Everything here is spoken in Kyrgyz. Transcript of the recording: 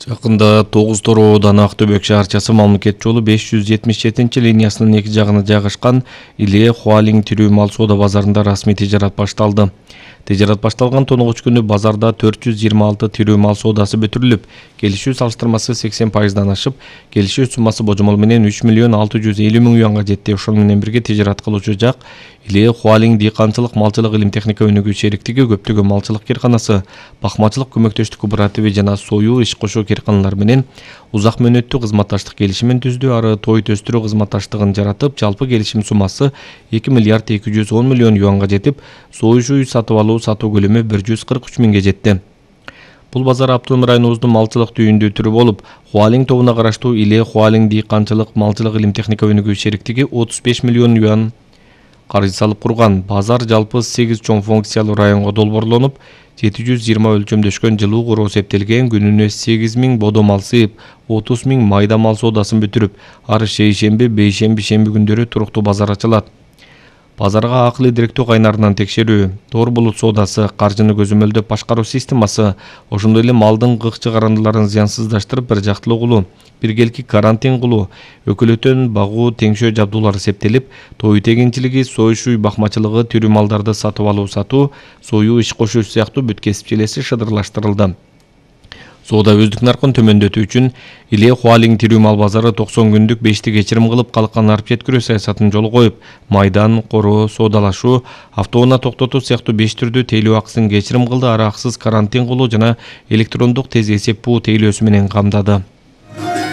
Жакында 9 Тороодан Актөбөк шаарчасы мамлекет жолу 577 линиясынын эки жагына жайгашкан Иле Хуалиң тирүү мал соода базарында расмий тижарат башталды. Тижарат башталган 9 күнү базарда 426 тирүү мал соодасы бүтүрүлүп, келишүү салыштырмасы 80%дан ашып, келишүү суммасы божомол менен 3 миллион 650 миң юанга жетти. Ошол менен бирге тижарат кылуучу жак Иле Хуалиң дыйканчылык малчылык илим техника өнүгүү шериктиги, көптөгөн малчылык керканасы, бакмачылык көмөктөштүк кооперативи жана сою иш кошуу керканалар менен узак мөөнөттүү кызматташтык келишимин түздү. Ары тоют өстүрүү кызматташтыгын жаратып, жалпы келишим суммасы 2 миллиард 210 миллион юанга жетип, союу үй сатып алуу сатуу көлөмү 143 миңге жетти. Бул базар автоном районубуздун малчылык түйүндүү түрү болуп, Хуалиң тобуна караштуу Иле Хуалиң дыйканчылык малчылык илим техника өнүгүү шериктиги 35 миллион юан каржы салып курган. Базар жалпы 8 чоң функциялуу районго долбоорлонуп, 720 өлчөмдөшкөн жылуу куроо эсептелген. Күнүнө 8000 бодо мал сыйып, 30 миң майда мал соодасын бүтүрүп, ар шейшемби, бейшемби, шемби күндөрү туруктуу базар ачылат. Базарга акылы директөө кайнарынан текшерүү, тоор булут соодасы, каржыны көзөмөлдөп башкаруу системасы, ошондой эле малдын гык чыгарындыларын зыянсыздаштырып бир жактылуу кылуу, биргелки карантин кылуу, өкөлөтөн багуу теңшөө жабдуулар эсептелип, тоют эгинчилиги, союш үй бакмачылыгы, тирүү малдарды сатып алуу сатуу, союу иш кошуу сыяктуу бүт кесип желеси шыдырлаштырылды. Соода өздүк наркын төмөндөтүү үчүн Иле Хуалиң тирүү мал базары 90 күндүк 5-ти кечирим кылып, калкан арып жеткирүү саясатын жолго коюп, майдан, короо, соодалашуу, автоунаа токтотуу сыяктуу 5 түрдүү тейлөө акысын кечирим кылды. Ары акысыз карантин кылуу жана электрондук тез эсеп буу тейлөөсү менен камдады.